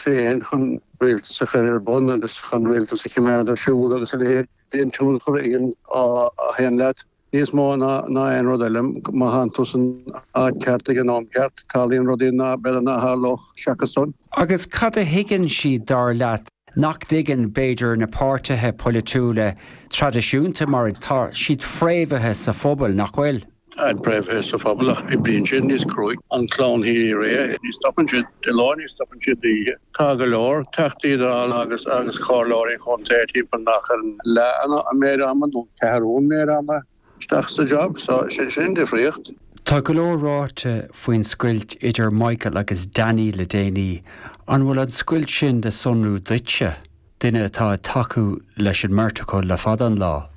féin chun rialtas a chur ar bun agus chun rialtas a choimeád ar siúl agus a leithéid. Bíonn tionchar ag an ádh a théann leat níos mó ná aon rud eile. Má thánn tú san áit cheart ag an am ceart, tarlaíonn rudaí ná b'fhéidir ná tharlódh seachas san. Agus cad a thuigeann siad, dar leat, nach dtuigeann, b'fhéidir, na páirtithe polaitiúla traidisiúnta mar tá siad fréamhaithe sa phobal, nach bhfuil? Táid fréamhaithe sa phobal ach oibríonn siad níos cruaidh. An clann Healy-Rae, ní stopann siad de lá, ní stopann siad d'oíche. Tá go leor Teachtaí Dála agus agus comhairleoirí chontae timpeall nach ar an leath an méid ama nó ceathrú an méid ama isteach sa job. So sin an difríocht. Tá go leor ráite faoin scoilt idir Michael agus Danny le déanaí. An bhfuil an scoilt sin le sonrú duitse, duine atá ag tacú leis an mbeirt acu le fada an lá?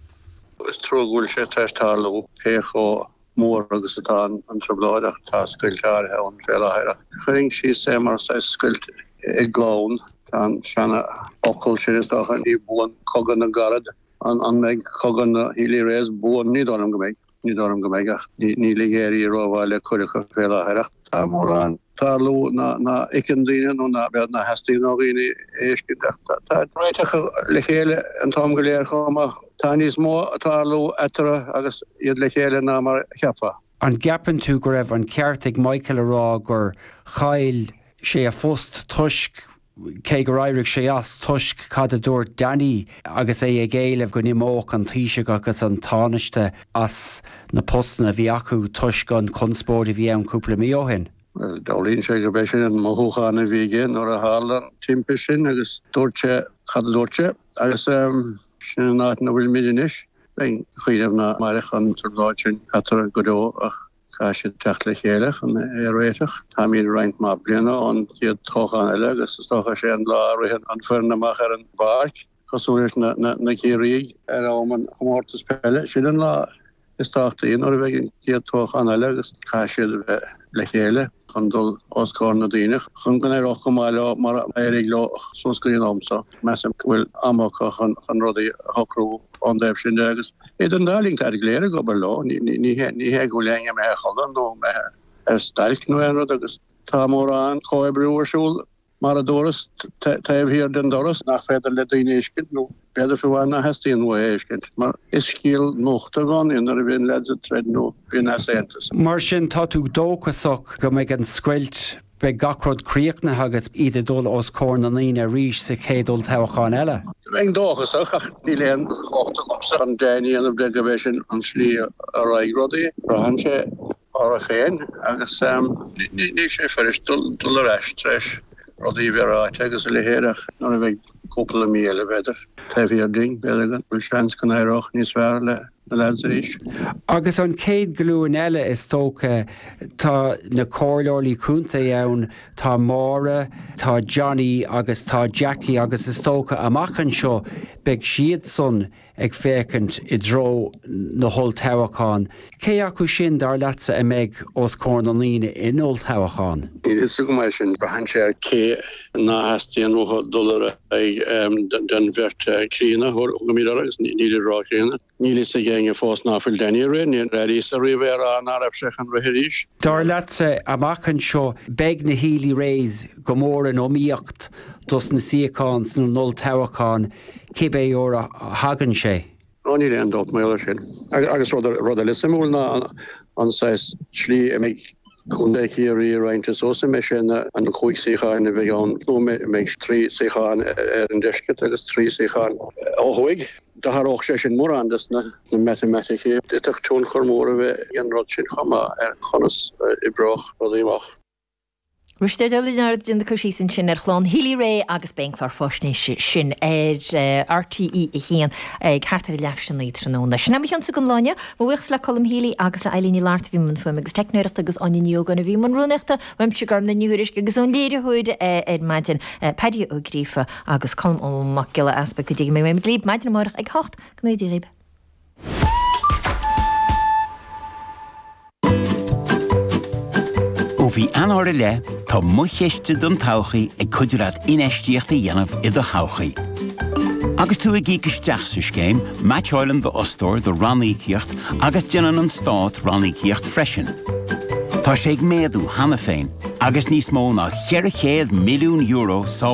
Is trua go bhfuil sé tar éis tarlú, pé chomh mór agus atá an trioblóid, ach tá scoilt áirithe ann fé láthair. Ach chuirfinn síos é mar saghas scoilt i gclann. Tá an seana-fhocal sin, is dócha, ní buan cogadh na gcarad. An mbeidh cogadh na Healy-Raes buan? Ní dóigh liom go mbeidh. Ní dóigh liom go mbeidh, ach níl ag éirí rómhaith le cuid acu fé láthair. Ach tá mórán. tarlú ná fheiceann daoine nó ná b'fhéidir ná theastaíonn ó dhaoine a fheiscint ach tá réiteach le chéile an t-am go léir chomh maith. Tá níos mó ag tarlú eatarthu agus iad le chéile ná mar a cheapfá. An gceapann tú go raibh an ceart ag Michael a rá gur chaill sé a phost toisc cé gur éirigh sé as toisc cad a dúirt Danny agus é ag éileamh go n-imeodh an Taoiseach agus an Tánaiste as na postanna a bhí acu toisc an chonspóid a bhí ann cúpla mí ó shin. Bhuel, dealraíonn sé gurb é sin an mothúchán a bhí aige nuair a tharla an timpiste sin agus dúirt sé cad a dúirt sé agus sin an áit ina bhfuilimid anois. Bheinn ag cuimhneamh nach mairfeadh an trioblóid sin eatarthu go deo ach Caithfidh siad teacht le chéile chun é a réiteach. Táimid roinnt mhaith bliana ón chéad toghchán eile agus is dócha is é an lá a ritheann an foireann amach ar an bpáirc, cosúil leis na Ciarraígh ar am an chomórtais peile. Sin an lá is tábhachtaí nuair a bheidh an chéad toghchán eile agus caithfidh siad a bheith le chéile chun dul os comhair na daoine chun go n-éireodh go maith leo mar a éirigh leo suas go dtí an am seo. Measaim go bhfuil am acu chun rudaí a shocrú ón dtaobh sin de agus idir an dá linn táid go léir ag obair leo, ní hé go bhfuil éinne imithe a chodladh nó imithe ar stailc nó aon rud agus tá mórán comhoibriú ar siúl mar a dúras taobh thiar den doras nach féidir le daoine a fheiscint nó b'fhéidir fiú amháin nach theastaíonn uathu a fheiscint mar is scéal nuachta i gcónaí nuair a bhíonn leaids ag troid nó bíonn easaontas. Mar sin tá tú dóchasach go mbeidh an scoilt Beidh gach rud críochnaithe agus iad ag dul os comhair na ndaoine arís sa chéad olltoghchán eile. Bheinn dóchasach, ach níl aon chumhacht agamsa chun deimhin a dhéanamh de gurb é sin an slí a raghaidh rudaí. Braitheann sé orthu féin agus níl sé fuirist dul ar ais tar éis rudaí a bheith ráite agus a leithéid ach nuair a bheidh cúpla mí eile, b'fhéidir, taobh thiar dínn, b'fhéidir go bhfuil seans go n-éireodh níos fearr le na leaids arís. Agus an chéad ghlúin eile, is dócha, tá na comhairleoirí contae ann, tá Máire, tá Johnny agus tá Jackie agus is dócha amach anseo beidh siadsan ag féachaint i dtreo na holltoghchán. Cé acu sin, dar leatsa, a mbeidh os comhair na ndaoine in olltoghchán? Níl a fhios agam é sin. Braitheann sé ar cé ná theastaíonn uathu dul ar aghaidh den bheirt chríonna, thugaimid orthu, agus nílid ró-chríonna. Níl a fhios ag éinne fós ná fuil Danny ag rith. Níor airíos ariamh é a rá ná raibh sé chun rith arís. Dar leatsa, amach anseo, beidh na Healy-Raes go mór in iomaíocht dos na suíocháin san olltoghchán, cibé uair a thagann sé. Ó, níl aon dabht mar gheall air sin. Agus rud eile suimiúil ná an saghas slí a mbeidh Contae Chiarraí roinnte suas, an mbeidh sé ina an chúig suíocháin a bheidh ann nó an mbeidh trí suíochán ar an deisceart agus trí suíochán ó thuaidh. D'athródh sé sin mórán des na matamaiticí. D'fhéadfadh tionchar mór a bheith ag an rud sin chomh maith ar conas a oibreodh rudaí amach. Risteard Ó Lionáird ag déanamh cur síos ansin ar chlann Healy-Rae agus beidh an clár fáisnéise sin ar RTÉ 1 ag thart ar a leath théis a naoi tráthnóna. Sin é mo chionsa don lá inniu. Mo bhuíochas le Colm Healy agus le Eileen Ní Fhlatharta a bhí i mbun fuaime agus teicneoireachta agus Áine Ní Ógáin a bhí i mbun rúnaíochta. Uaimse Gormfhlaith Ní Thuairisg agus ón léiritheoir ar maidin, Paddy Ó Gríofa agus Colm Ó Mac Giolla Easpaig go dtí go mbeidh muid libh maidin amárach ag 8. Go ngnóthaí Dia dhaoibh. Ó mhí Eanáir i leith, tá Mo Chiste don Todhchaí ag cuidiú leat infheistíocht a dhéanamh i do thodhchaí. Agus tú ag íoc isteach sa scéim, meaitseáileann d'fhostóir do ranníocaíocht agus déanann an Stát ranníocaíocht freisin. Tá sé ag méadú cheana féin agus níos mó ná €400 milliún sábháilte.